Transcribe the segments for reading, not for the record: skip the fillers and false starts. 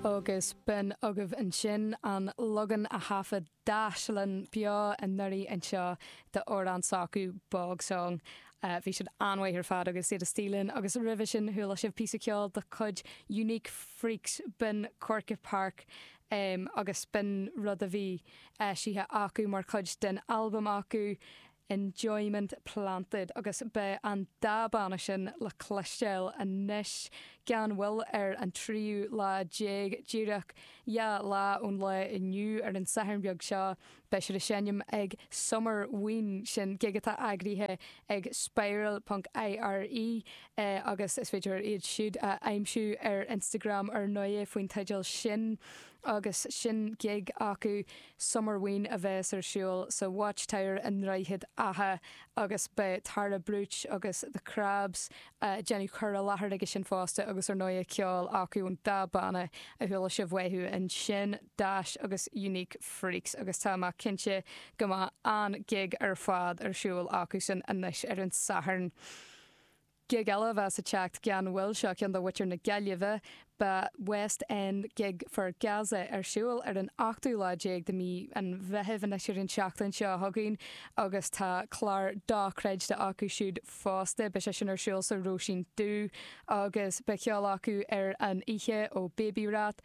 Agus b'in agaibh ansin an leagan a thaifead Dash linn beo anuraidh anseo d'amhrán s'acu, Bog Song. Bhí siad an-mhaith ar fad agus iad istigh linn agus roimhe sin chuala sibh píosa ceoil de chuid Unique Freaks, b'in Corkagh Park agus b'in rud a bhí eisithe acu mar chuid den albam acu, Enjoyment Planted agus beidh an dá banna sin le cloisteáil anois gan mhoill ar an tríú lá déag, díreach dhá lá ón lá inniu, ar an Satharn beag seo. Beidh siad ag seinm ag Summer Ween, sin gig atá eagraithe ag Spiral ponc IRE agus is féidir iad siúd a aimsiú ar Instagram ar ndóigh faoin teideal sin agus sin gig acu. Summer Ween a bheas ar siúl sa Watchtower i nDroichead Átha agus beidh Tara Brooch agus The Crabs ag déanamh cur i láthair aige sin fosta agus ar ndóigh ceol acu ón dá banna a chuala sibh uathu ansin, Dash agus Unique Freaks agus tá mé cinnte go mbeidh an-gig ar fad ar siúl acusan anois ar an Satharn. Gig eile a bheas ag teacht gan mhoill, seo ceann do mhuintir na Gaillimhe. Beidh West End Gig for Gaza ar siúl ar an ochtú lá déag de mhí an Mheithimh, anois ar an tseachtain seo chugainn, agus tá clár dochreidte acu siúd fosta. Beidh sé sin ar siúl sa Róisín Dubh agus beidh ceol acu ar an oíche ó Baby Rat,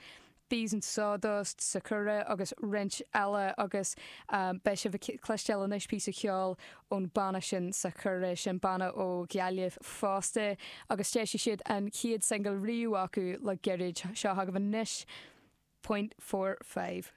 Bees and Sawdust, Sakura agus roinnt eile agus beidh sibh ag cloisteáil anois píosa ceoil ón banna sin Sakura, sin banna ó Ghaillimh fosta agus d'eisigh siad an chéad singil riamh acu le gairid. Seo chugaibh anois Point 45.